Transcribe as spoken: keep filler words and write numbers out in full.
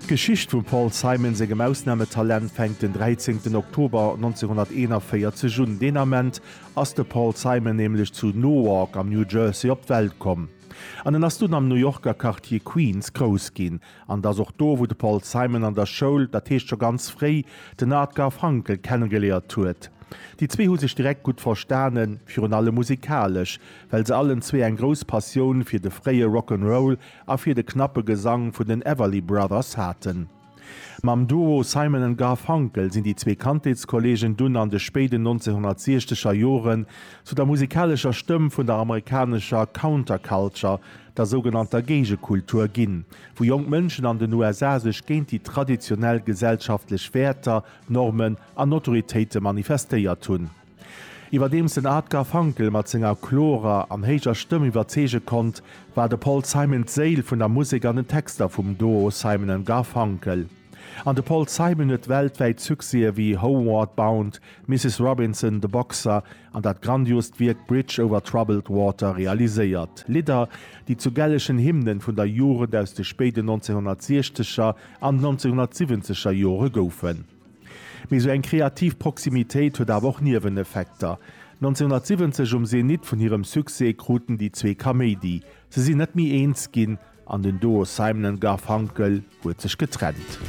D'Geschicht vum Paul Simon sengem Ausnametalent fänkt den dräizéngten Oktober neunzehnhunderteenundvierzeg un. Deen Ament ass de Paul Simon nämlech zu Newark am New Jersey op d'Welt komm. An en ass dunn am New Yorker Quartier Queens grouss ginn. An et ass och do, wou de Paul Simon an der Schoul, dat heescht scho ganz fréi, den Art Garfunkel kennegeléiert huet. Déi zwee hu sech direkt gutt verstanen, virun allem musikalesch, well se allen zwee eng grouss Passioun fir de fréie Rock 'n' Roll a fir de knappe Gesang vun den Everly Brothers haten. Mam Duo Simon and Garfunkel sinn déi zwee Kandheetskolleegen dunn an de spéiden neunzehnhundertsiechzeger Joren zu der musikalescher Stëmm vun der amerikanescher Counterculture, der sougenannter Géigekultur ginn, wou jonk Mënschen an den U S A sech géint déi traditionell gesellschaftlech Wäerter, Normen an Autoritéite manifestéiert hunn. Iwwerdeems den Art Garfunkel mat senger klorer an héijer Stëmm iwwerzeege konnt, war de Paul Simon d'Séil vun der Musek an den Texter vum Duo Simon and Garfunkel. An de Paul Simon huet weltwäit Succèse wéi Homeward Bound, Misses Robinson, The Boxer an dat grandiost Wierk Bridge over Troubled Water realiséiert. Lidder, déi zu gellechen Hymnen vun der Jugend aus de spéiden neunzehnhundertsiechzeger an neunzehnhundertsiwwenzeger Jore goufen. Mee sou eng kreativ Proximitéit huet awer och Nieweneffekter. neunzehnhundertsiwwenzeg um Zenit vun hirem Succès kruten déi zwee Kaméidi. Se sinn net méi eens ginn an den Duo Simon and Garfunkel huet sech getrennt.